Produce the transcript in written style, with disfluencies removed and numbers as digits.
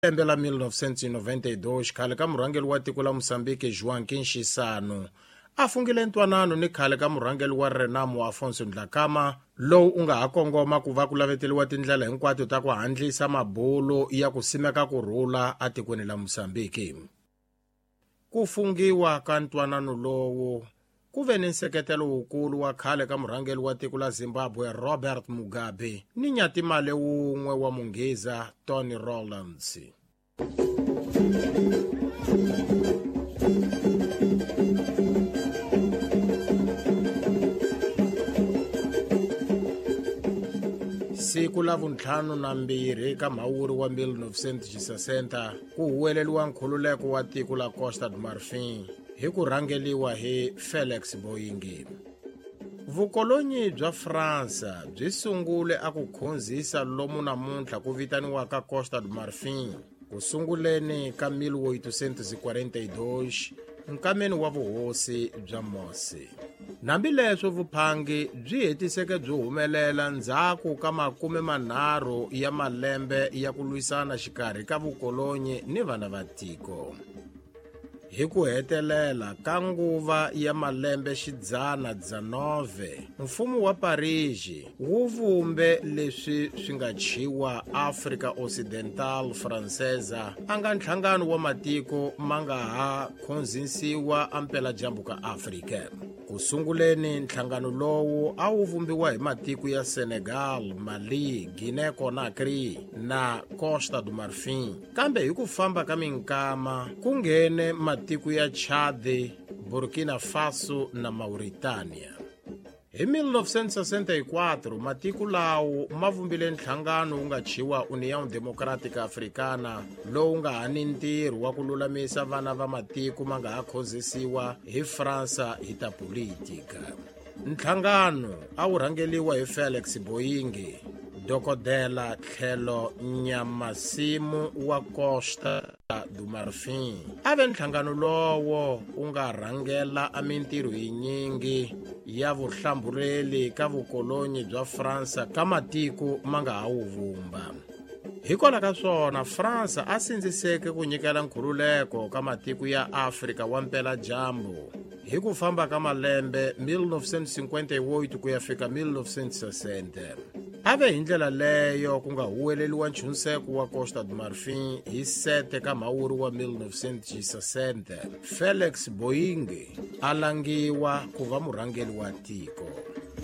Lembe la 1992, khale ka murhangeri wa tiko la Mozambique Joaquim Chissano a fungile ntwanano ni khale ka murhangeri wa Renamo Afonso Dhlakama, lowu u nga ha kongoma ku va ku laveteliwa tindlela hinkwato ta ku handlisa mabulo ya ku simeka ku rhula atikweni la Mozambique. Ku fungiwa ka ntwanano lowu ku ve ni nseketelo wukulu wa khale ka murhangeri wa tiko la Zimbabwe Robert Mugabe ni nyatimale wun'we wa munghiza Tony Rowlands. Siku la vuntlhanu na mbirhi ka Mhawuri wa 1960 ku huweleliwa nkhululeko wa tiko la Costa do Marfin hi ku rhangeliwa hi Felix Boyingin. Vukolonyi bya Fransa byi sungule a ku khonzisa lomu namuntlha ku vitaniwaka Costa do Marfin ku sunguleni ka 1842 nkameni wa vuhosi bya Mosi. Hambileswo vuphangi byi hetiseke byi humelela ndzhaku ka 30 ya malembe ya ku lwisana xikarhi ka vukolonyi ni vana va tiko. Hi ku hetelela ka nguva ya malembe xidzana 9, mfumo wa Paris wu vumbe leswi swi nga thyiwa Afrika Occidental Francesa, a nga nhlangano wa matiko ma nga ha khonzisiwa ampeladyambu ka Afrika. Ku sunguleni nhlangano lowu a wu vumbiwa hi matiko ya Senegal, Mali, Guinea-Conakry na Costa do Marfin. Kambe hi ku famba ka minkama ku nghene matiko ya Chad, Burkina Faso na Mauritania. Hi 1964 matiko lawo ma vumbile nhlangano wu nga thyiwa União Democrática Africana, lowu nga ha ni ntirho wa ku lulamisa vana va matiko ma nga ha khonzisiwa hi Fransa hi ta politika. Nhlangano a wu rhangeliwa hi Felix Boyingi, dokodela tlhelo nyamasimu wa Costa do Marfin. A ve nhlangano lowo wu nga rhangela a mintirho yinyingi ya vuhlambuleli ka vukolonyi bya Fransa ka matiko ma nga ha wu vumba. Hikwalaho ka swona, Fransa a sindziseke ku nyikela nkhululeko ka matiko ya Afrika wa mpeladyambu hi ku famba ka malembe 1958 ku ya fika 1960. A ve hi ndlela leyo ku nga huweleliwa nchunseko wa Costa do Marfin hi 7 ka Mhawuri wa 1960. Felix Boyingi a langiwa ku va murhangeri wa tiko.